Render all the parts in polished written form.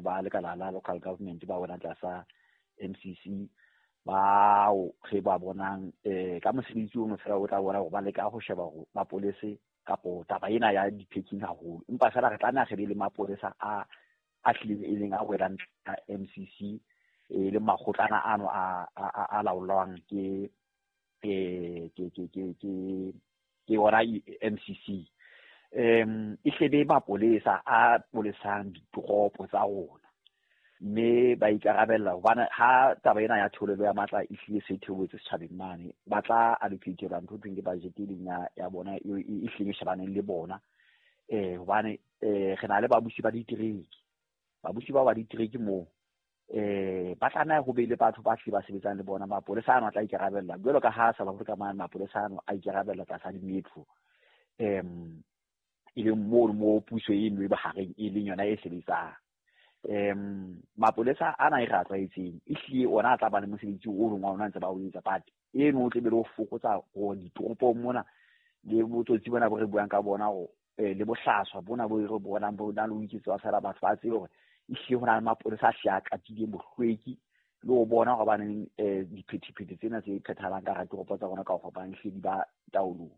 ba lekala la local government ba wena tlasa MCC bao re ba bonang ka mosebetsi ono fela o tla bona hore ba leka ho sheba hore mapolese kapo taba ena ya di-packing haholo, empa fela re tlameha re be le mapolesa a hlileng e leng a welang ka MCC e leng makgotlana ano a laolwang ke ke yona MCC. E hlebe mapolesa a polesang ditoropo tsa rona, mme ba ikarabella hobane ha taba ena ya theolelo ya matla e hlile se theohetse setjhabeng mane, ba tla allocate-elwa ntho thweng ke budget e leng ya bona e hlileng e shebaneng le bona. Hobane re na le babusi ba ditereke, babusi bao ba ditereke moo ba tlameha ho be le batho ba hlile ba sebetsang le bona. Mapolesa ano a tla ikarabella jwalo ka ha South Africa mane mapolesa ano a ikarabella tlasa di-metro, e leng mono mo puso eno e bohareng e leng yona e sebetsang. Mapolesa ana e re a tlwaetseng e hlile ona a tla ba le mosebetsi o leng wa ona ntse ba o etsa, but eno o tle be le ho fokotsa hore ditoropong mona le botsotsi bona bo re buang ka bona hore le bohlaswa bona bo re bonang bo na le ho iketsetsa fela, batho ba tsebe hore e hlile ho na le mapolesa a hlile a katileng bohlweki le ho bona hore baneng diphethephethe tsena tse phethahalang ka hara toropo tsa rona ka ho fapana e hlile di ba taolong.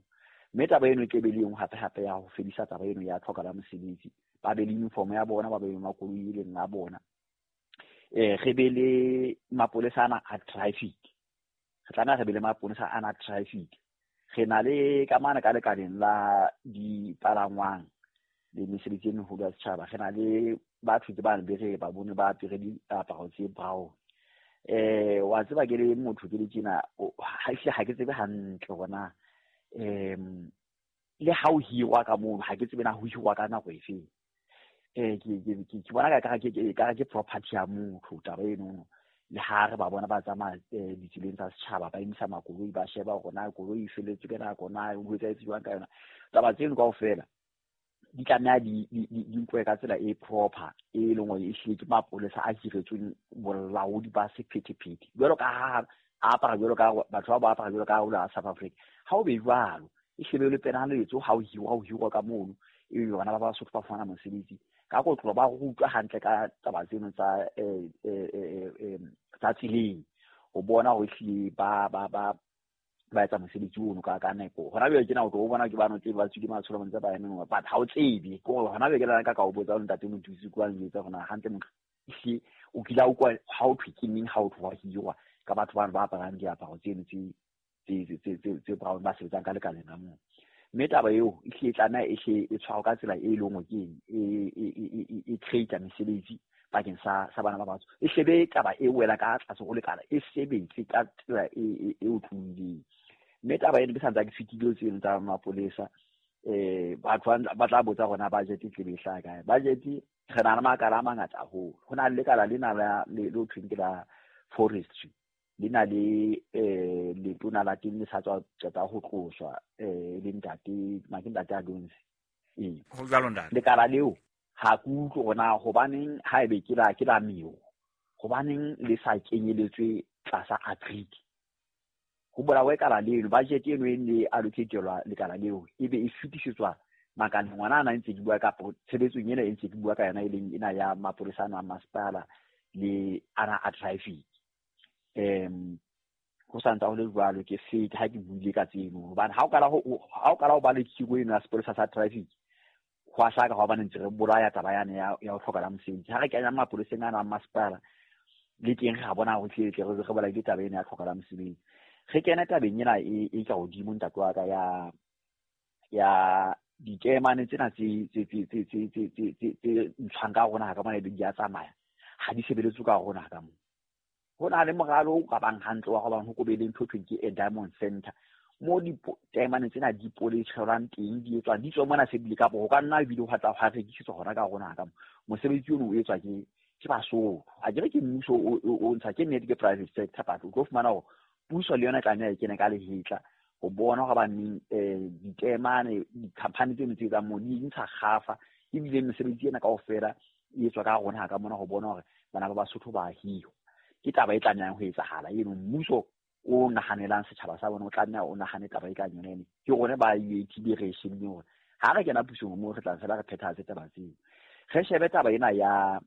Mme taba eno e tle be le engwe hape hape ya ho fedisa taba eno ya tlhoka la mosebetsi, ba be le uniform ya bona, ba be le makoloi e leng a bona. Re be le mapolesa ana a traffic, re tlameha re be le mapolesa ana a traffic. Re na le ka mane ka lekaleng la dipalangwang le mesebetsi e meholo ya setjhaba, re na le batho tse bane be re ba bone ba apere diaparo tse brown. Wa tseba ke le motho ke le tjena, ha ehlile ha ke tsebe hantle hore na le ha o hirwa ka mono, ha ke tsebe na ho hirwa ka nako efeng. Ke bona ka ke property ya motho taba eno. Le ha re ba bona ba tsamaya ditseleng tsa setjhaba, ba emisa makoloi, ba sheba hore na koloi e felletse ke nako na, ho etsahetse jwang ka yona. Taba tseno kaofela di tlameha di nkuwe ka tsela e proper, e leng hore e hlile ke mapolesa a hiretsweng bolaodi ba sephethephethe. Jwalo ka ha a apara jwalo ka batho ba apara jwalo ka ha South Africa. Ha o be jwalo, e hlebe le penaletso ha o hirwa ka mono, e yona ba Basotho ba fumana mosebetsi. Ka kotlo ba rutwa hantle ka taba tseno tsa tsa tseleng, ho bona hore ehlile ba etsa mosebetsi ono ka nepo. Hona jwale ke na o tlo bona ke bano tse ba tswile matsholo ba ntse ba eme moo, but ha o tsebe ke hore hona jwale ke la ka o botsa ntate Mothusi kwa njwetsa hore na hantle motho ehlile o kile a utlwa ha o thwe ke neng ha o thwe wa hirwa ka batho bano ba aparang diaparo tseno tse brown ba sebetsang ka lekaleng la moo. Mme taba eo e hlile tlameha e hle e tshwarwe ka tsela e leng hore ke eng, e create mesebetsi bakeng sa bana ba batho. E hlebe taba e wela ka tlase ho lekala, e sebetse ka tsela e otlolohileng. Mme taba eno ke santse ke fetile tseno tsa mapolesa, batho ba tla botsa hore na budget e tlebe e hlaha kae. Budget re na le makala a mangata haholo. Ho na le lekala lena la le ho thweng ke la forestry, le na le letona la teng le sa tswa qeta ho tloswa, le ntate ke ntate Adonsi. Ho jwalo ntate. Lekala leo ha ke utlwe hore na hobaneng ha ebe ke la meo, hobaneng le sa kenyeletswe tlasa agric. Ho bolawe lekala leno, budget eno e ne allocate-elwa lekala leo, ebe e fetisetswa makaleng ngwana ana ntse ke bua ka tshebetsong ena e ntse ke bua ka yona e leng ena ya mapolesa ana a masepala le ana a traffic. Ho santsa ho le jwalo ke fete ha ke buile ka tseno, hobane ha o qala ho ba le khiro eno ya sepolesa sa traffic, ho a hlaka hobane ntse re bolaya taba yane ya ho hloka la mosebetsi. Ha re kenya mapoleseng ana a masepala le teng re a bona hore tle re bolaile taba ena ya hloka la mosebetsi. Re kene tabeng ena e ka hodimo ntate wa ka ya dikemane tsena tse ntshwang ka rona ha ka mona ebe di a tsamaya, ha di sebeletswe ka rona ka moo. Ho na le moralo o ka bang hantle wa hobane ho kobe le ntho thweng ke a diamond center, mo ditaemane tsena di poletjhelwang teng, di etswang, di tswa mona sebile, kapo ho ka nna ebile hwa tla hwa rekisetswa hona ka rona ka mo. Mosebetsi ono o etswa ke Basotho. A ke re ke mmuso o ntsha, ke nnete ke private sector, but o tlo fumana hore puso le yona e tlameha e kene ka lehetla ho bona hore baneng ditaemane, di-company tseno tse etsang moo di ntsha kgafa, ebile mesebetsi ena kaofela e etswa ka rona ka mona ho bona hore bana ba Basotho ba hirwa. Ke taba e tlamehang ho etsahala eno. Mmuso o nahanelang setjhaba sa bona o tlameha o nahane taba e kang yona eno. Ke rona ba UATB re e shebile hore ha re kena pusong moo re tla fela re phethahatse taba tseo. Re shebe taba ena ya